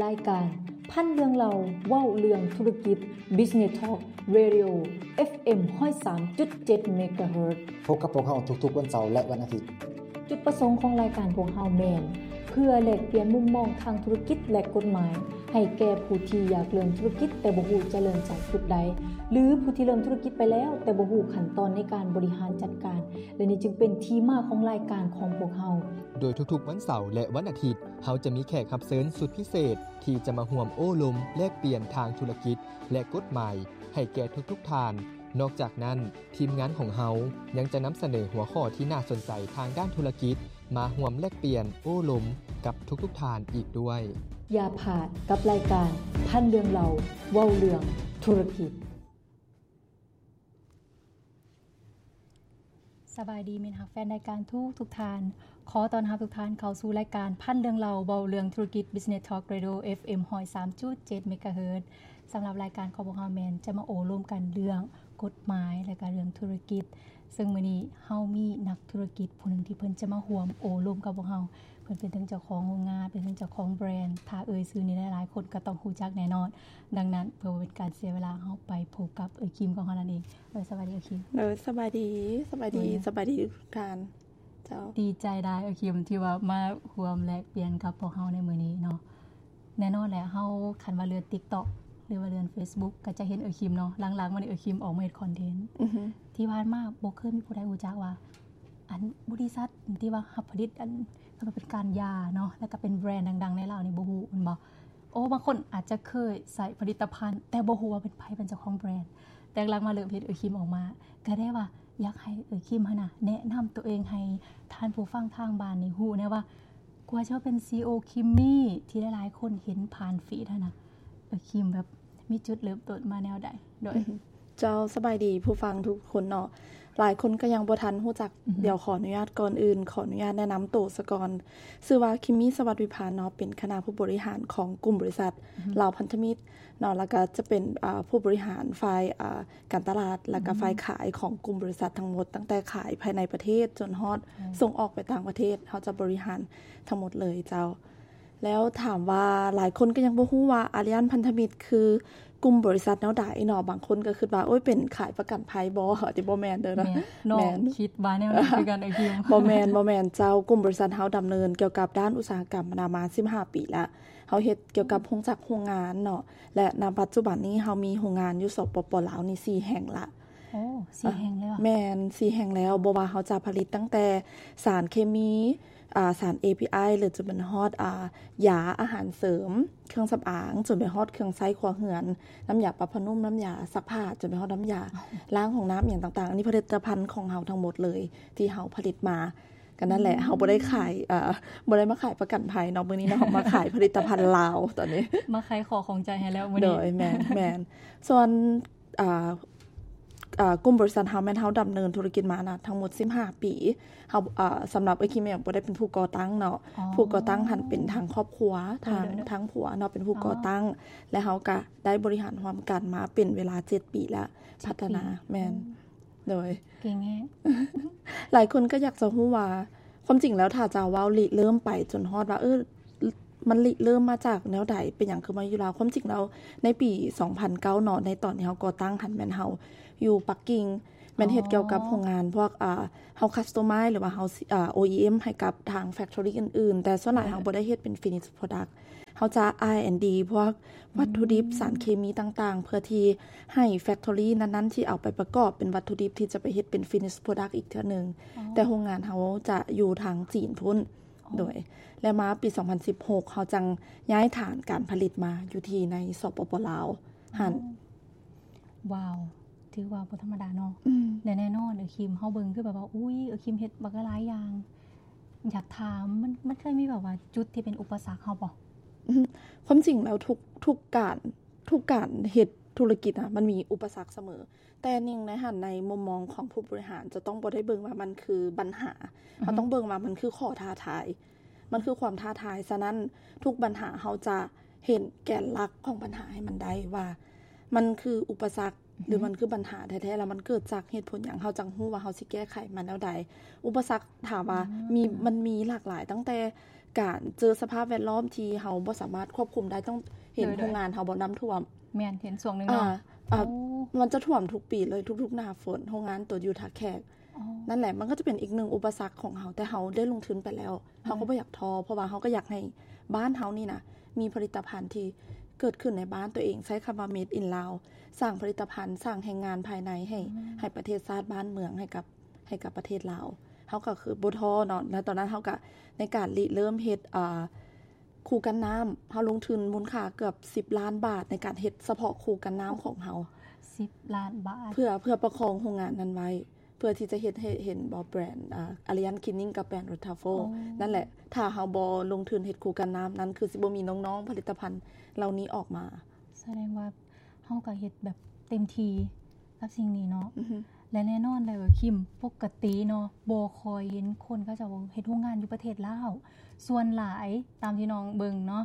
ລາຍການພັນເລື່ອງເລົ່າ ເວົ້າເລື່ອງທຸລະກິດ Business Talk Radio ເອັຟເອັມ ຮ້ອຍສາມຈຸດເຈັດ ເມກາເຮີດ. ພົບກັບພວກເຮົາທຸກໆວັນເສົາ ແລະ ວັນອາທິດ. ຈຸດປະສົງຂອງລາຍການພວກເຮົາແມ່ນ ເພື່ອແລກປ່ຽນມຸມມອງທາງທຸລະກິດ ແລະ ກົດໝາຍ ໃຫ້ແກ່ຜູ້ທີ່ຢາກເລີ່ມທຸລະກິດ ແຕ່ບໍ່ຮູ້ຈະເລີ່ມຈາກຈຸດໃດ ຫຼື ຜູ້ທີ່ເລີ່ມທຸລະກິດໄປແລ້ວ ແຕ່ບໍ່ຮູ້ຂັ້ນຕອນໃນການບໍລິຫານຈັດການ ແລະ ນີ້ຈຶ່ງເປັນທີ່ມາຂອງລາຍການຂອງພວກເຮົາ. ໂດຍທຸກໆວັນເສົາ ແລະ ວັນອາທິດ ເຮົາຈະມີແຂກຮັບເຊີນສຸດພິເສດ ທີ່ຈະມາຮ່ວມໂອ້ລົມແລກປ່ຽນທາງທຸລະກິດ ແລະ ກົດໝາຍ ໃຫ້ແກ່ທຸກໆທ່ານ. ນອກຈາກນັ້ນ, ທີມງານຂອງເຮົາຍັງຈະນຳສະເໜີຫົວຂໍ້ທີ່ໜ້າສົນໃຈທາງດ້ານທຸລະກິດ ມາຮ່ວມແລກປ່ຽນໂອ້ລົມກັບທຸກໆທ່ານອີກດ້ວຍ. ຢ່າພາດກັບລາຍການພັນເລື່ອງເລົ່າ ເວົ້າເລື່ອງທຸລະກິດ. ສະບາຍດີມິດຮັກແຟນລາຍການທຸກໆທ່ານ. ຂໍຕ້ອນຮັບທຸກທ່ານເຂົ້າສູ່ລາຍການພັນເລື່ອງເລົ່າ ເວົ້າເລື່ອງທຸລະກິດ Business Talk Radio ເອັຟເອັມ ຮ້ອຍສາມຈຸດເຈັດ ເມກາເຮີດ. ສຳລັບລາຍການຂອງພວກເຮົາແມ່ນຈະມາໂອ້ລົມກັນເລື່ອງກົດໝາຍ ແລະ ກະເລື່ອງທຸລະກິດ. ເຊິ່ງມື້ນີ້ເຮົາມີນັກທຸລະກິດຜູ້ໜຶ່ງທີ່ເພິ່ນຈະມາຮ່ວມໂອ້ລົມກັບພວກເຮົາ. ເພິ່ນເປັນທັງເຈົ້າຂອງໂຮງງານ ເປັນທັງເຈົ້າຂອງແບຣນ. ຖ້າເອີ່ຍຊື່ນີ້ ຫຼາຍໆຄົນກໍຕ້ອງຮູ້ຈັກແນ່ນອນ. ດັ່ງນັ້ນ ເພື່ອບໍ່ເປັນການເສຍເວລາ, ເຮົາໄປພົບກັບເອື້ອຍຄິມຂອງເຮົານັ້ນເອງ. ໂດຍ ສະບາຍດີເອື້ອຍຄິມ. ໂດຍ ສະບາຍດີ, ສະບາຍດີ, ໂດຍ ສະບາຍດີທຸກທ່ານ. ເຈົ້າ. ດີໃຈຫຼາຍເອື້ອຍຄິມ ທີ່ວ່າມາຮ່ວມແລກປ່ຽນກັບພວກເຮົາໃນມື້ນີ້ເນາະ. ແນ່ນອນແຫຼະ ເຮົາຄັນວ່າເລື່ອນ TikTok ຫຼືວ່າເລື່ອນ Facebook ກໍຈະເຫັນເອື້ອຍຄິມເນາະ. ຫຼັງໆມານີ້ເອື້ອຍຄິມອອກມາເຮັດຄອນເທັນ. ອືຮຶ. ທີ່ຜ່ານມາບໍ່ເຄີຍມີຜູ້ໃດຮູ້ຈັກວ່າ ອັນ ບໍລິສັດທີ່ວ່າຮັບຜະລິດ ອັນ ເປັນການຢາເນາະ ແລ້ວກໍເປັນແບຣນດັງໆໃນລາວນີ້ ບໍ່ຮູ້ແມ່ນບໍ່? ໂອ້ ບາງຄົນອາດຈະເຄີຍໃຊ້ຜະລິດຕະພັນ ແຕ່ບໍ່ຮູ້ວ່າເປັນໃຜເປັນເຈົ້າຂອງແບຣນ. ແຕ່ຫຼັງມາເລີ່ມເຫັນເອື້ອຍຄິມອອກມາ ກໍໄດ້ວ່າຢາກໃຫ້ເອື້ອຍຄິມຫັ້ນນະ ແນະນຳຕົວເອງໃຫ້ທ່ານຜູ້ຟັງທາງບ້ານນີ້ຮູ້ແດ່ວ່າ ກວ່າຈະມາເປັນ ຊີອີໂອ ຄິມມີ ທີ່ຫຼາຍໆຄົນເຫັນຜ່ານຟີດຫັ້ນນະ ເອື້ອຍຄິມແບບມີຈຸດເລີ່ມຕົ້ນມາແນວໃດ? ໂດຍ ເຈົ້າ ສະບາຍດີຜູ້ຟັງທຸກຄົນເນາະ. ຫຼາຍຄົນກໍຍັງບໍ່ທັນຮູ້ຈັກ. ອືຮຶ. ດຽວຂໍອະນຸຍາດ ກ່ອນອື່ນ ຂໍອະນຸຍາດແນະນຳໂຕສາກ່ອນ. ຊື່ວ່າ ຄິມມີ ສະຫວັດວິພານເນາະ, ເປັນຄະນະຜູ້ບໍລິຫານຂອງກຸ່ມບໍລິສັດ ອືຮຶ ລາວພັນທະມິດເນາະ, ແລ້ວກໍຈະເປັນ ອາ ຜູ້ບໍລິຫານຝ່າຍ ອາ ການຕະຫຼາດ ແລ້ວກໍ ອືມ ຝ່າຍຂາຍຂອງກຸ່ມບໍລິສັດທັງໝົດ, ຕັ້ງແຕ່ຂາຍພາຍໃນປະເທດຈົນຮອດ ໂອ້ ສົ່ງອອກໄປຕ່າງປະເທດ, ເຮົາຈະບໍລິຫານທັງໝົດເລີຍເຈົ້າ. ແລ້ວຖາມວ່າ ຫຼາຍຄົນກໍຍັງບໍ່ຮູ້ວ່າ ອາລຽນພັນທະມິດ ຄືກຸ່ມບໍລິສັດແນວໃດເນາະ. ບາງຄົນກໍຄິດວ່າ ໂອ້ຍ ເປັນຂາຍປະກັນໄພບໍ? ແຕ່ບໍ່ແມ່ນເດີເນາະ. ແມ່ນ ນ້ອງ ແມ່ນ ຄິດວ່າແນວນັ້ນຄືກັນ ເອື້ອຍຄິມ. ບໍ່ແມ່ນ, ບໍ່ແມ່ນເຈົ້າ. ກຸ່ມບໍລິສັດເຮົາດຳເນີນກ່ຽວກັບດ້ານອຸດສາຫະກຳມານາມາສິບຫ້າປີແລ້ວ. ເຮົາເຮັດກ່ຽວກັບ ອືມ ໂຮງຈັກໂຮງງານເນາະ ແລະ ນະປັດຈຸບັນນີ້ເຮົາມີໂຮງງານຢູ່ ສປປ ລາວນີ້ສີ່ແຫ່ງລະ. ໂອ້ ສີ່ແຫ່ງແລ້ວ. ແມ່ນ ສີ່ແຫ່ງແລ້ວ. ບໍ່ວ່າເຮົາຈະຜະລິດຕັ້ງແຕ່ສານເຄມີ ອາ ສານ ເອ ພີ ໄອ ຫຼື ຈົນໄປຮອດ ອາ ຢາອາຫານເສີມ, ເຄື່ອງສຳອາງ, ຈົນໄປຮອດເຄື່ອງໃຊ້ຄົວເຮືອນ, ນ້ຳຢາປັບຜ້ານຸ່ມ, ນ້ຳຢາຊັກຜ້າ, ຈົນໄປຮອດນ້ຳຢາລ້າງຫ້ອງນ້ຳ ອີ່ຫຍັງຕ່າງໆ. ອັນນີ້ຜະລິດຕະພັນຂອງເຮົາທັງໝົດເລີຍ ທີ່ເຮົາຜະລິດມາ. ກໍນັ້ນແຫຼະ ເຮົາບໍ່ໄດ້ຂາຍ ເອີ ບໍ່ໄດ້ມາຂາຍປະກັນໄພເນາະ ມື້ນີ້ເນາະ, ມາຂາຍຜະລິດຕະພັນລາວຕອນນີ້. ມາຂາຍຂໍຂອງໃຈໃຫ້ແລ້ວມື້ນີ້. ໂດຍ ແມ່ນ ແມ່ນ. ສ່ວນ ອ່າ ອ່າ ກຸ່ມບໍລິສັດເຮົາແມ່ນເຮົາດຳເນີນທຸລະກິດມານະ ທັງໝົດສິບຫ້າປີ. ເຮົາ ອ່າ ສຳລັບເອື້ອຍຄິມເອງບໍ່ໄດ້ເປັນຜູ້ກໍ່ຕັ້ງເນາະ. ອໍ ຜູ້ກໍ່ຕັ້ງຫັ້ນເປັນທາງຄອບຄົວ ໂດຍ ທາງ ໂດຍ ທາງຜົວເນາະ ເປັນຜູ້ກໍ່ຕັ້ງ ອໍ ແລະ ເຮົາກະໄດ້ບໍລິຫານຮ່ວມກັນມາເປັນເວລາເຈັດປີແລ້ວ. ເຈັດປີ ພັດທະນາ ແມ່ນ ອືມ ໂດຍ ເກັ່ງແຮງ. ຫຼາຍຄົນກໍຢາກຈະຮູ້ວ່າ ຄວາມຈິງແລ້ວຖ້າຈະເວົ້າລິເລີ່ມໄປຈົນຮອດວ່າ ເອີ ມັນລິເລີ່ມມາຈາກແນວໃດ? ເປັນຫຍັງຄືມາຢູ່ລາວ? ຄວາມຈິງແລ້ວໃນປີສອງພັນເກົ້າເນາະ ໃນຕອນທີ່ເຮົາກໍ່ຕັ້ງຫັ້ນ ແມ່ນເຮົາຢູ່ປັກກິ່ງ ແມ່ນເຮັດ ອໍ ກ່ຽວກັບໂຮງງານພວກ ອ່າ ເຮົາ customize ຫຼືວ່າເຮົາ ອ່າ ໂອອີເອັມ ໃຫ້ກັບທາງ factory ອື່ນໆ ແຕ່ສ່ວນຫຼາຍ ໂດຍ ເຮົາບໍ່ໄດ້ເຮັດເປັນ finish product. ເຮົາຈະ R and D ພວກວັດຖຸດິບ ອືມ ສານເຄມີຕ່າງໆ ເພື່ອທີ່ໃຫ້ factory ນັ້ນໆ ທີ່ເອົາໄປປະກອບເປັນວັດຖຸດິບທີ່ຈະໄປເຮັດເປັນ finish product ອີກເທື່ອໜຶ່ງ. ອໍ ແຕ່ໂຮງງານເຮົາຈະຢູ່ທາງຈີນພຸ້ນ. ອໍ ໂດຍ ແລະ ມາປີສອງພັນສິບຫົກ ເຮົາຈັ່ງຍ້າຍຖານການຜະລິດມາຢູ່ທີ່ໃນ ສປປ ລາວຫັ້ນ. ອໍ ວ້າວ ຖືວ່າບໍ່ທຳມະດາເນາະ. ອືມ ແລະ ແນ່ນອນ ເອື້ອຍຄິມ ເຮົາເບິ່ງຄືແບບວ່າ ອຸ້ຍ ເອື້ອຍຄິມເຮັດບັກຫຼາຍຢ່າງ. ຢາກຖາມ ມັນ ມັນເຄີຍມີແບບວ່າຈຸດທີ່ເປັນອຸປະສັກເຮົາບໍ່? ອືມ ຄວາມຈິງແລ້ວທຸກ ທຸກການ ທຸກການເຮັດທຸລະກິດນະ ມັນມີອຸປະສັກສະເໝີ. ແຕ່ໜຶ່ງໃນຫັ້ນ ໃນມຸມມອງຂອງຜູ້ບໍລິຫານ ຈະຕ້ອງບໍ່ໄດ້ເບິ່ງວ່າມັນຄືບັນຫາ. ອືຮຶ ເຮົາຕ້ອງເບິ່ງວ່າມັນຄືຂໍ້ທ້າທາຍ. ມັນຄືຄວາມທ້າທາຍ. ສະນັ້ນ ທຸກບັນຫາເຮົາຈະເຫັນແກນຫຼັກຂອງບັນຫາໃຫ້ມັນໄດ້ວ່າ ມັນຄືອຸປະສັກ ອືຮຶ ຫຼື ມັນຄືບັນຫາແທ້ໆ ແລ້ວມັນເກີດຈາກເຫດຜົນຫຍັງ ເຮົາຈັ່ງຮູ້ວ່າເຮົາຊິແກ້ໄຂມັນແນວໃດ. ອຸປະສັກ ຖາມວ່າ ອືມ ມີ ມັນມີຫຼາກຫຼາຍ ຕັ້ງແຕ່ ການເຈີສະພາບແວດລ້ອມທີ່ເຮົາບໍ່ສາມາດຄວບຄຸມໄດ້ ຕ້ອງເຫັນ ໂດຍ ໂດຍ ໂຮງງານເຮົາບໍ່ ນ້ຳຖ້ວມ ແມ່ນ ເຫັນຊ່ວງໜຶ່ງ ອ່າ ເນາະ ອ່າ ໂອ້ ມັນຈະຖ້ວມທຸກປີເລີຍ ທຸກໆໜ້າຝົນ ໂຮງງານໂຕຢູ່ທ່າແຂກ ອໍ ນັ້ນແຫຼະ ມັນກໍຈະເປັນອີກໜຶ່ງອຸປະສັກຂອງເຮົາ ແຕ່ເຮົາໄດ້ລົງທຶນໄປແລ້ວ ເຮົາກໍບໍ່ຢາກທໍ້ ເພາະວ່າເຮົາກໍຢາກໃຫ້ບ້ານເຮົານີ້ນະ ມີຜະລິດຕະພັນທີ່ເກີດຂຶ້ນໃນບ້ານຕົວເອງ ໃຊ້ຄຳວ່າ Made in Lao ສ້າງຜະລິດຕະພັນ ສ້າງແຮງງານພາຍໃນໃຫ້ ອືມ ໃຫ້ປະເທດຊາດບ້ານເມືອງ ໃຫ້ກັບ ໃຫ້ກັບປະເທດລາວ ເຮົາກໍຄືບໍ່ທໍ້ເນາະ ແລະ ຕອນນັ້ນເຮົາກໍໃນການລິເລີ່ມເຮັດ ອ່າ ຄູກັນນ້ຳ ເຮົາລົງທຶນມູນຄ່າເກືອບສິບລ້ານບາດ ໃນການເຮັດສະເພາະຄູກັນນ້ຳຂອງເຮົາ ສິບລ້ານບາດ ເພື່ອ ເພື່ອປະຄອງໂຮງງານນັ້ນໄວ້ ເພື່ອທີ່ຈະເຮັດໃຫ້ເຫັນບໍ່ ແບຣນ ອ່າ Alliance Cleaning ກັບແບຣນ Rothafel ໂອ້ ນັ້ນແຫຼະ ຖ້າເຮົາບໍ່ລົງທຶນເຮັດຄູກັນນ້ຳ ນັ້ນຄືຊິບໍ່ມີນ້ອງໆຜະລິດຕະພັນເຫຼົ່ານີ້ອອກມາ. ສະແດງວ່າເຮົາກໍເຮັດແບບເຕັມທີ່ກັບສິ່ງນີ້ເນາະ ອືຮຶ ແລະ ແນ່ນອນແລ້ວ ຄິມ ປົກກະຕິເນາະ ບໍ່ຄ່ອຍເຫັນຄົນເຂົາເຈົ້າເຮັດໂຮງງານຢູ່ປະເທດລາວ ສ່ວນຫຼາຍຕາມທີ່ນ້ອງເບິ່ງເນາະ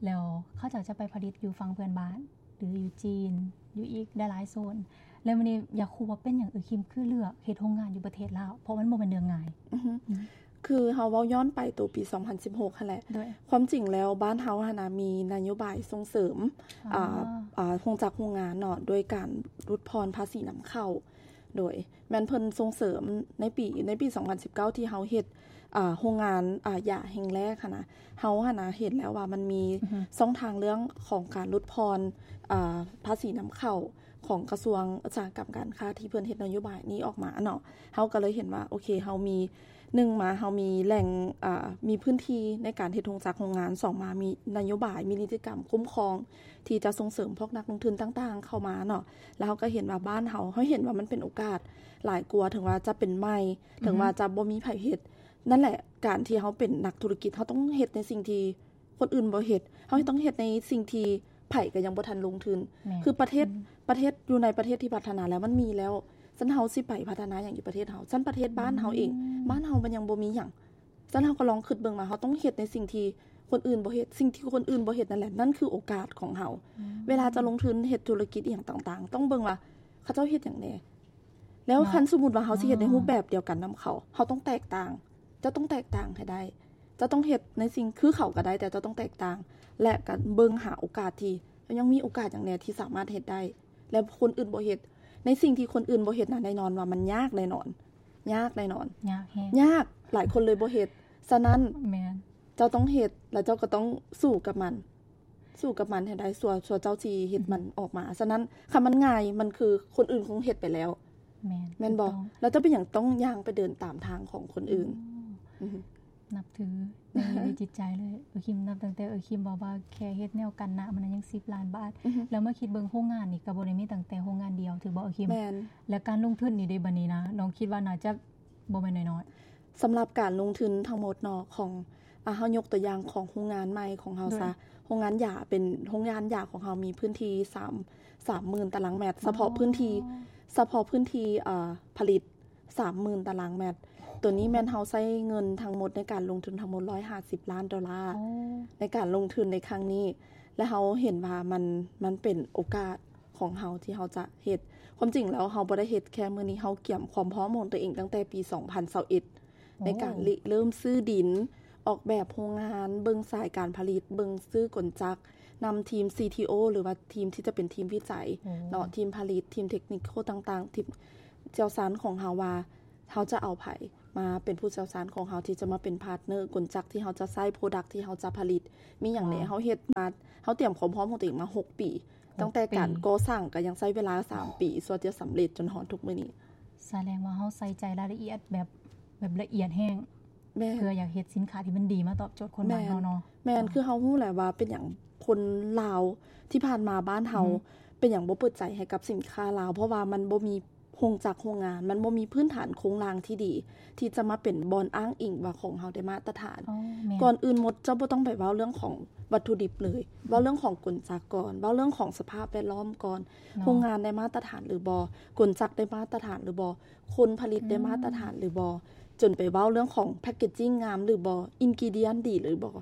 ແລ້ວເຂົາເຈົ້າຈະໄປຜະລິດຢູ່ຝັ່ງເພື່ອນບ້ານ ຫຼື ຢູ່ຈີນ ຢູ່ອີກຫຼາຍໆໂຊນ ແລ້ວມື້ນີ້ຢາກຮູ້ວ່າເປັນຫຍັງເອື້ອຍຄິມຄືເລືອກເຮັດໂຮງງານຢູ່ປະເທດລາວ ເພາະມັນບໍ່ແມ່ນເລື່ອງງ່າຍ ອືຮຶ ອືມ ຄືເຮົາເວົ້າຍ້ອນໄປໂຕປີສອງພັນສິບຫົກຫັ້ນແຫຼະ ໂດຍ ຄວາມຈິງແລ້ວບ້ານເຮົາຫັ້ນນະ ມີນະໂຍບາຍສົ່ງເສີມ ອ່າ ອ່າ ໂຮງຈັກໂຮງງານເນາະ ໂດຍການຫຼຸດຜ່ອນພາສີນຳເຂົ້າ ໂດຍແມ່ນເພິ່ນສົ່ງເສີມໃນປີ ໃນປີສອງພັນສິບເກົ້າ ທີ່ເຮົາເຮັດ ອ່າ ໂຮງງານ ອ່າ ຢາແຫ່ງແລກຫັ້ນນະ ເຮົາຫັ້ນນະເຫັນແລ້ວວ່າມັນມີ ອືຮຶ ຊ່ອງທາງເລື່ອງຂອງການຫຼຸດຜ່ອນ ອ່າ ພາສີນຳເຂົ້າຂອງກະຊວງອຸດສາຫະກຳການຄ້າ ທີ່ເພິ່ນເຮັດນະໂຍບາຍນີ້ອອກມາເນາະ ເຮົາກໍເລີຍເຫັນວ່າ ໂອເຄ ເຮົາມີ ໜຶ່ງມາເຮົາມີແຫຼ່ງ ເອີ ມີພື້ນທີ່ໃນການເຮັດໂຮງຈັກໂຮງງານ, ສອງມາມີນະໂຍບາຍ ມີນິຕິກຳຄຸ້ມຄອງທີ່ຈະສົ່ງເສີມພວກນັກລົງທຶນຕ່າງໆເຂົ້າມາເນາະ. ແລ້ວເຮົາກໍເຫັນວ່າບ້ານເຮົາ, ເຮົາເຫັນວ່າມັນເປັນໂອກາດຫຼາຍກວ່າ ເຖິງວ່າຈະເປັນໃໝ່, ອືຮຶ ເຖິງວ່າຈະບໍ່ມີໃຜເຮັດ. ນັ້ນແຫຼະ ການທີ່ເຮົາເປັນນັກທຸລະກິດ ເຮົາຕ້ອງເຮັດໃນສິ່ງທີ່ຄົນອື່ນບໍ່ເຮັດ, ເຮົາຕ້ອງເຮັດໃນສິ່ງທີ່ໃຜກໍຍັງບໍ່ທັນລົງທຶນ. ແມ່ນ. ຄືປະເທດ, ອືມ ປະເທດ ຢູ່ໃນປະເທດທີ່ພັດທະນາແລ້ວ ມັນມີແລ້ວ, ຊັ້ນເຮົາຊິໄປພັດທະນາຫຍັງຢູ່ປະເທດເຮົາ? ຊັ້ນປະເທດບ້ານເຮົາເອງ, ອືມ ບ້ານເຮົາມັນຍັງບໍ່ມີຫຍັງ. ຊັ້ນເຮົາກໍລອງຄິດເບິ່ງວ່າເຮົາຕ້ອງເຮັດໃນສິ່ງທີ່ຄົນອື່ນບໍ່ເຮັດ, ສິ່ງທີ່ຄົນອື່ນບໍ່ເຮັດນັ້ນແຫຼະ ນັ້ນຄືໂອກາດຂອງເຮົາ. ອືມ ເວລາຈະລົງທຶນເຮັດທຸລະກິດອີ່ຫຍັງຕ່າງໆ ຕ້ອງເບິ່ງວ່າເຂົາເຈົ້າເຮັດຫຍັງແດ່. ແລ້ວ ເນາະ ຄັນສົມມຸດວ່າເຮົາຊິເຮັດໃນ ອືມ ຮູບແບບດຽວກັນນຳເຂົາ, ເຮົາຕ້ອງແຕກຕ່າງ. ເຈົ້າຕ້ອງແຕກຕ່າງໃຫ້ໄດ້. ເຈົ້າຕ້ອງເຮັດໃນສິ່ງຄືເຂົາກໍໄດ້, ແຕ່ເຈົ້າຕ້ອງແຕກຕ່າງ ແລະ ກໍເບິ່ງຫາໂອກາດທີ່ ຍັງມີໂອກາດຫຍັງແດ່ທີ່ສາມາດເຮັດໄດ້ ແລະ ຄົນອື່ນບໍ່ເຮັດ. ໃນສິ່ງທີ່ຄົນອື່ນບໍ່ເຮັດນັ້ນ ແນ່ນອນວ່າມັນຍາກແນ່ນອນ, ຍາກແນ່ນອນ, ຍາກແຮງ, ຍາກ, ຫຼາຍຄົນເລີຍບໍ່ເຮັດ. ສະນັ້ນ ແມ່ນ ເຈົ້າຕ້ອງເຮັດ ແລະ ເຈົ້າກໍຕ້ອງສູ້ກັບມັນ, ສູ້ກັບມັນໃຫ້ໄດ້ ຊົ່ວ, ຊົ່ວເຈົ້າຊິເຮັດ ອືຮຶ ມັນອອກມາ. ສະນັ້ນ ຄັນມັນງ່າຍ ມັນຄືຄົນອື່ນຄົງເຮັດໄປແລ້ວ. ແມ່ນ, ແມ່ນບໍ່? ຖືກຕ້ອງ. ແລ້ວເຈົ້າເປັນຫຍັງຕ້ອງຍ່າງໄປເດີນຕາມທາງຂອງຄົນອື່ນ? ອືມ ອືຮຶ ນັບຖືໃນໃນຈິດໃຈເລີຍ. ເອື້ອຍຄິມ ນັບຕັ້ງແຕ່ເອື້ອຍຄິມເວົ້າວ່າແຄ່ເຮັດແນວກັນນ້ຳມັນຍັງສິບລ້ານບາດ, ອືຮຶ ແລ້ວມາຄິດເບິ່ງໂຮງງານນີ້ກໍບໍ່ໄດ້ມີຕັ້ງແຕ່ໂຮງງານດຽວ ຖືກບໍ່ ເອື້ອຍຄິມ? ແມ່ນ. ແລະ ການລົງທຶນນີ້ເດ ບັດນີ້ນະ ນ້ອງຄິດວ່າໜ້າຈະບໍ່ແມ່ນນ້ອຍໆ. ສຳລັບການລົງທຶນທັງໝົດເນາະ ຂອງ ອ່າ ເຮົາຍົກຕົວຢ່າງຂອງໂຮງງານໃໝ່ຂອງເຮົາຊະ, ໂດຍ ໂຮງງານຢາ ເປັນໂຮງງານຢາຂອງເຮົາມີພື້ນທີ່ສາມ ສາມໝື່ນຕາລາງແມັດ, ອໍ ສະເພາະພື້ນທີ່ ສະເພາະພື້ນທີ່ ເອີ ຜະລິດ ສາມໝື່ນຕາລາງແມັດ. ໂຕນີ້ແມ່ນເຮົາໃຊ້ເງິນທັງໝົດໃນການລົງທຶນທັງໝົດ ຮ້ອຍຫ້າສິບລ້ານໂດລາ ໂອ້ ໃນການລົງທຶນໃນຄັ້ງນີ້ ແລະ ເຮົາເຫັນວ່າມັນ, ມັນເປັນໂອກາດຂອງເຮົາທີ່ເຮົາຈະເຮັດ. ຄວາມຈິງແລ້ວເຮົາບໍ່ໄດ້ເຮັດແຄ່ມື້ນີ້, ເຮົາກຽມຄວາມພ້ອມຂອງຕົວເອງຕັ້ງແຕ່ປີສອງພັນຊາວເອັດ ໂອ້ ໃນການລິເລີ່ມຊື້ດິນ, ອອກແບບໂຮງງານ, ເບິ່ງສາຍການຜະລິດ, ເບິ່ງຊື້ກົນຈັກ, ນຳທີມ ຊີ ທີ ໂອ ຫຼືວ່າທີມທີ່ຈະເປັນທີມວິໄຈ ໂອ້ ເນາະ, ທີມຜະລິດ, ທີມເທັກນິກໂຄຕ່າງໆ, ທີມຊ່ຽວຊານຂອງເຮົາວ່າເຮົາຈະເອົາໃຜມາເປັນຜູ້ຊ່ຽວຊານຂອງເຮົາ ທີ່ຈະມາເປັນພາດເນີ, ກົນຈັກທີ່ເຮົາຈະໃຊ້, ໂປຣດັກທີ່ເຮົາຈະຜະລິດ, ມີຫຍັງແດ່. ວ້າວ ເຮົາເຮັດມາ, ເຮົາຕຽມຄວາມພ້ອມຂອງຕົວເອງມາຫົກປີ. ຫົກປີ. ຕັ້ງແຕ່ການກໍ່ສ້າງກໍຍັງໃຊ້ເວລາສາມປີ ສ່ວນຈະສຳເລັດຈົນຮອດທຸກມື້ນີ້. ສະແດງວ່າເຮົາໃສ່ໃຈລາຍລະອຽດແບບ, ແບບລະອຽດແຮງ. ແມ່ນ. ເພື່ອຢາກເຮັດສິນຄ້າທີ່ມັນດີມາຕອບໂຈດຄົນບ້ານເຮົາເນາະ. ແມ່ນ, ຄືເຮົາຮູ້ແຫຼະວ່າເປັນຫຍັງຄົນລາວທີ່ຜ່ານມາບ້ານເຮົາ ອືຮຶ ເປັນຫຍັງບໍ່ເປີດໃຈໃຫ້ກັບສິນຄ້າລາວ, ເພາະວ່າມັນບໍ່ມີໂຮງຈັກໂຮງງານ, ມັນບໍ່ມີພື້ນຖານໂຄງລ່າງທີ່ດີ ທີ່ຈະມາເປັນບ່ອນອ້າງອີງວ່າຂອງເຮົາໄດ້ມາດຕະຖານ. ອໍ ແມ່ນ. ກ່ອນອື່ນໝົດ ເຈົ້າບໍ່ຕ້ອງໄປເວົ້າເລື່ອງຂອງວັດຖຸດິບເລີຍ, ເວົ້າເລື່ອງຂອງກົນຈັກກ່ອນ, ເວົ້າເລື່ອງຂອງສະພາບແວດລ້ອມກ່ອນ. ເນາະ. ໂຮງງານໄດ້ມາດຕະຖານຫຼືບໍ່? ກົນຈັກໄດ້ມາດຕະຖານຫຼືບໍ່? ຄົນຜະລິດໄດ້ມາດຕະຖານຫຼືບໍ່? ອືມ ຈົນໄປເວົ້າເລື່ອງຂອງແພັກເກດຈິ້ງງາມຫຼືບໍ່? ອິນກຣີດຽນດີຫຼືບໍ່?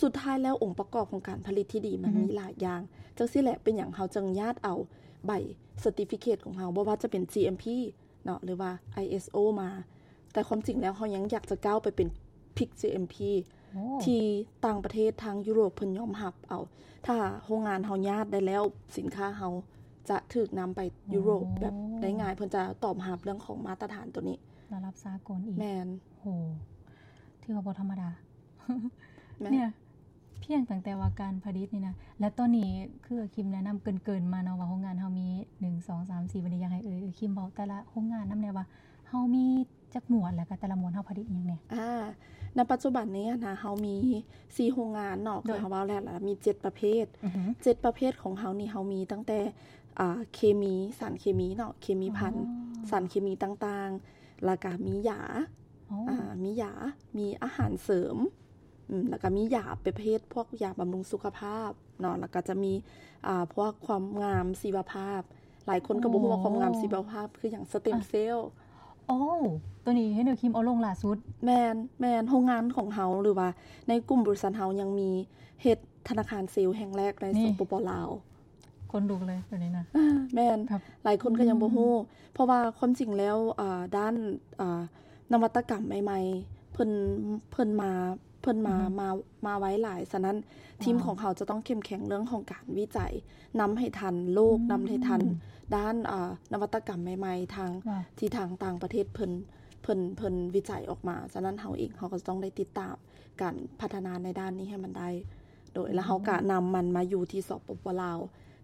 ສຸດທ້າຍແລ້ວ ອົງປະກອບຂອງການຜະລິດທີ່ດີມັນ ອືຮຶ ມີຫຼາຍຢ່າງ. ຈັ່ງຊີ້ແຫຼະ ເປັນຫຍັງເຮົາຈຶ່ງຢາກເອົາໃບເຊີຕິຟິເຄດຂອງເຮົາ ບໍ່ວ່າຈະເປັນ ຈີ ເອັມ ພີ ເນາະ ຫຼືວ່າ ໄອ ເອສ ໂອ ມາ. ແຕ່ຄວາມຈິງແລ້ວ ເຮົາຍັງຢາກຈະກ້າວໄປເປັນ PIC GMP ທີ່ຕ່າງປະເທດທາງຢູໂຣບເພິ່ນຍອມຮັບເອົາ. ຖ້າໂຮງງານເຮົາຍາດໄດ້ແລ້ວ ສິນຄ້າເຮົາຈະຖືກນຳໄປຢູໂຣບແບບໄດ້ງ່າຍ, ເພິ່ນຈະຕອບຮັບເລື່ອງຂອງມາດຕະຖານໂຕນີ້ ລະດັບສາກົນອີກ. ແມ່ນ. ໂຫ ຖືວ່າບໍ່ທຳມະດາ. ແມ່ນ. ເພຽງຕັ້ງແຕ່ວ່າການຜະລິດນີ້ນະ ແລະ ຕອນນີ້ຄືຄິມແນະນຳເກີນໆມາເນາະ ວ່າໂຮງງານເຮົາມີ ໜຶ່ງ ສອງ ສາມ ສີ່ ບັດນີ້ຢາກໃຫ້ເອີຍ ເອີຍ ຄິມເວົ້າແຕ່ລະໂຮງງານນຳແດ່ວ່າເຮົາມີຈັກໝວດ ແລະ ກະແຕ່ລະໝວດເຮົາຜະລິດອີ່ຫຍັງແດ່? ອາ ໃນປັດຈຸບັນນີ້ນະ ເຮົາມີສີ່ໂຮງງານເນາະ ຄືເຮົາເວົ້າແລ້ວລະ ມີເຈັດປະເພດ. ເຈັດປະເພດຂອງເຮົານີ້ ເຮົາມີຕັ້ງແຕ່ ອາ ເຄມີ ສານເຄມີເນາະ ເຄມີພັນ ສານເຄມີຕ່າງໆ ແລ້ວກະມີຢາ ອາ ມີຢາ ມີອາຫານເສີມ ອືມ ແລ້ວກະມີຢາປະເພດພວກຢາບຳລຸງສຸຂະພາບເນາະ ແລ້ວກະຈະມີ ອາ ພວກຄວາມງາມຊີວະພາບ. ຫຼາຍຄົນກໍບໍ່ຮູ້ວ່າຄວາມງາມຊີວະພາບຄືຫຍັງ ສະເຕັມເຊວ. ໂອ້ ໂຕນີ້ເຫັນເອີຍຄິມເອົາລົງລ່າສຸດ. ແມ່ນ ແມ່ນ. ໂຮງງານຂອງເຮົາ ຫຼືວ່າໃນກຸ່ມບໍລິສັດເຮົາຍັງມີເຮັດທະນາຄານເຊວແຫ່ງແລກໃນ ສປປ ລາວ. ຂົນລຸກເລີຍໂຕນີ້ນະ. ແມ່ນ. ຫຼາຍຄົນກໍຍັງບໍ່ຮູ້ ເພາະວ່າຄວາມຈິງແລ້ວ ອາ ດ້ານ ອາ ນະວັດຕະກຳໃໝ່ໆ ເພິ່ນ ເພິ່ນມາ ເພິ່ນມາ ມາ ມາໄວຫຼາຍ. ສະນັ້ນ ທີມຂອງເຮົາຈະຕ້ອງເຂັ້ມແຂງເລື່ອງຂອງການວິໄຈ ນຳໃຫ້ທັນໂລກ ນຳໃຫ້ທັນດ້ານ ອາ ນະວັດຕະກຳໃໝ່ໆ ທາງ ທີ່ທາງຕ່າງປະເທດເພິ່ນ ເພິ່ນ ເພິ່ນວິໄຈອອກມາ. ສະນັ້ນເຮົາເອງ ເຮົາກໍຈະຕ້ອງໄດ້ຕິດຕາມການພັດທະນາໃນດ້ານນີ້ໃຫ້ມັນໄດ້ ໂດຍ ແລ້ວເຮົາກະນຳມັນມາຢູ່ທີ່ ສປປ ລາວ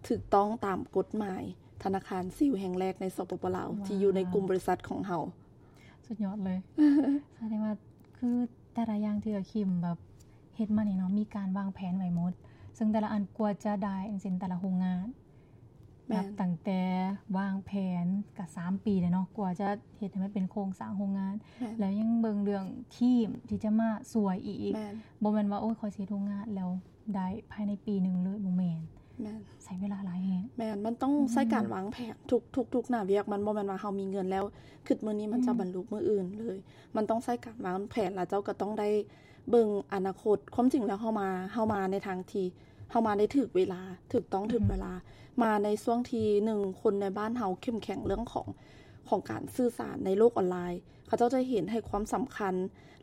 ຖືກຕ້ອງຕາມກົດໝາຍທະນາຄານເຊວແຫ່ງແລກໃນ ສປປ ລາວ ທີ່ຢູ່ໃນກຸ່ມບໍລິສັດຂອງເຮົາ. ສຸດຍອດເລີຍ. ສະແດງວ່າຄືແຕ່ລະຢ່າງທີ່ເອື້ອຍຄິມແບບເຮັດມານີ້ເນາະ ມີການວາງແຜນໄວ້ໝົດ ເຊິ່ງແຕ່ລະອັນກວ່າຈະໄດ້ ຢ່າງເຊັ່ນແຕ່ລະໂຮງງານ ແມ່ນ ນັບຕັ້ງແຕ່ວາງແຜນກະສາມປີແລ້ວເນາະ ກວ່າຈະເຮັດໃຫ້ມັນເປັນໂຄງສ້າງໂຮງງານ ແລ້ວຍັງເບິ່ງເລື່ອງທີມທີ່ຈະມາຊ່ວຍອີກ. ບໍ່ແມ່ນວ່າ ໂອ້ຍ ຂ້ອຍຊິເຮັດໂຮງງານແລ້ວ ໄດ້ພາຍໃນປີໜຶ່ງເລີຍ ບໍ່ແມ່ນ. ແມ່ນ. ໃຊ້ເວລາຫຼາຍແຮງ. ແມ່ນ. ມັນຕ້ອງໃຊ້ການວາງແຜນທຸກ ທຸກ ທຸກໜ້າວຽກ. ມັນບໍ່ແມ່ນວ່າເຮົາມີເງິນແລ້ວ ຄຶດມື້ນີ້ມັນຈະບັນລຸມື້ອື່ນເລີຍ. ມັນຕ້ອງໃຊ້ການວາງແຜນ ແລ້ວເຈົ້າກໍຕ້ອງໄດ້ເບິ່ງອະນາຄົດ. ຄວາມຈິງແລ້ວເຮົາມາ ເຮົາມາໃນທາງທີ່ ເຮົາມາໄດ້ຖືກເວລາ ຖືກຕ້ອງ ຖືກເວລາ. ມາໃນຊ່ວງທີ່ ໜຶ່ງ ຄົນໃນບ້ານເຮົາເຂັ້ມແຂງເລື່ອງຂອງ ຂອງການສື່ສານໃນໂລກອອນລາຍ. ເຂົາເຈົ້າຈະເຫັນໃຫ້ຄວາມສຳຄັນ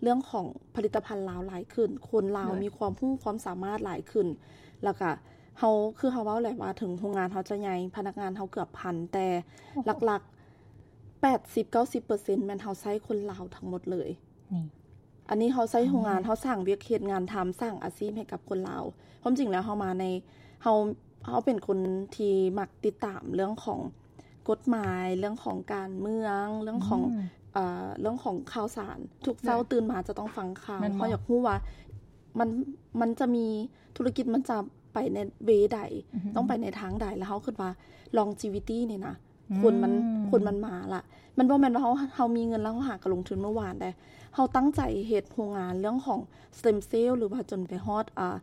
ເລື່ອງຂອງຜະລິດຕະພັນລາວຫຼາຍຂຶ້ນ, ຄົນລາວມີຄວາມຮູ້ຄວາມສາມາດຫຼາຍຂຶ້ນ. ແລ້ວກະເຮົາ ຄືເຮົາເວົ້າແຫຼະວ່າ ເຖິງໂຮງງານເຮົາຈະໃຫຍ່, ພະນັກງານເຮົາເກືອບພັນ, ແຕ່ຫຼັກໆ ແປດສິບເກົ້າສິບເປີເຊັນ ແມ່ນເຮົາໃຊ້ຄົນລາວທັງໝົດເລີຍ. ນີ້ ອັນນີ້ເຮົາໃຊ້ໂຮງງານ ເຮົາສ້າງວຽກເຮັດງານທຳ, ສ້າງອາຊີບໃຫ້ກັບຄົນລາວ. ຄວາມຈິງແລ້ວເຮົາມາໃນ ເຮົາ ເຮົາເປັນຄົນທີ່ມັກຕິດຕາມເລື່ອງຂອງກົດໝາຍ, ເລື່ອງຂອງການເມືອງ, ເລື່ອງຂອງ ເອີ ເລື່ອງຂອງຂ່າວສານ. ທຸກເຊົ້າຕື່ນມາຈະຕ້ອງຟັງຂ່າວ. ເຮົາຢາກຮູ້ວ່າມັນ ມັນຈະມີ ທຸລະກິດມັນຈະໄປໃນເວໃດ, ຕ້ອງໄປໃນທາງໃດ. ແລ້ວເຮົາຄິດວ່າ longevity ນີ້ນະ ຄົນມັນ ຄົນມັນມາລະ. ມັນບໍ່ແມ່ນວ່າເຮົາ ເຮົາມີເງິນແລ້ວເຮົາຫາກະລົງທຶນເມື່ອວານໃດ. ເຮົາຕັ້ງໃຈເຮັດໂຮງງານເລື່ອງຂອງ stem cell ຫຼືວ່າຈົນໄປຮອດ ອ່າ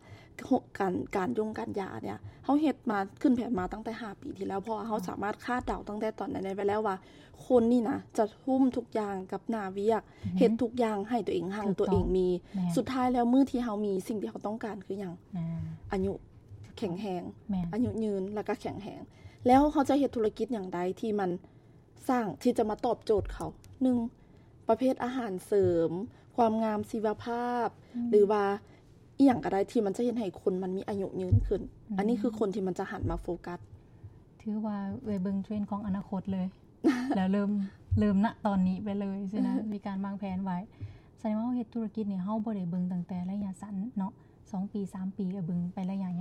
ການ ການຢົງການຢາເນີ້ຍ ເຮົາເຮັດມາ ຂຶ້ນແຜນມາຕັ້ງແຕ່ຫ້າປີທີ່ແລ້ວ ເພາະວ່າເຮົາສາມາດຄາດເດົາຕັ້ງແຕ່ຕອນນັ້ນໄດ້ໄວ້ແລ້ວວ່າ ຄົນນີ້ນະຈະທຸ່ມທຸກຢ່າງກັບໜ້າວຽກ ເຮັດທຸກຢ່າງໃຫ້ຕົວເອງຮັ່ງ ຕົວເອງມີ. ສຸດທ້າຍແລ້ວມື້ທີ່ເຮົາມີ ສິ່ງທີ່ເຮົາຕ້ອງການຄືຫຍັງ? ອາຍຸ ແຂງແຮງ ອາຍຸຍືນ ແລ້ວກໍແຂງແຮງ. ແລ້ວເຮົາຈະເຮັດທຸລະກິດຫຍັງໃດທີ່ມັນສ້າງ ທີ່ຈະມາຕອບໂຈດເຂົາ? ໜຶ່ງ ປະເພດອາຫານເສີມ, ຄວາມງາມຊີວະພາບ ຫຼືວ່າອີ່ຫຍັງກໍໄດ້ທີ່ມັນຈະເຮັດໃຫ້ຄົນມັນມີອາຍຸຍືນຂຶ້ນ. ອັນນີ້ຄືຄົນທີ່ມັນຈະຫັນມາໂຟກັສ. ຖືວ່າເອື້ອຍເບິ່ງເທຣນຂອງອະນາຄົດເລີຍ ແລ້ວເລີ່ມ ເລີ່ມນະຕອນນີ້ໄປເລີຍຊີ້ນະ ມີການວາງແຜນໄວ້. ສະແດງວ່າເຮົາເຮັດທຸລະກິດນີ້ ເຮົາບໍ່ໄດ້ເບິ່ງຕັ້ງແຕ່ໄລຍະສັ້ນເນາະ ສອງປີ ສາມປີ ເບິ່ງໄປໄລຍະຍ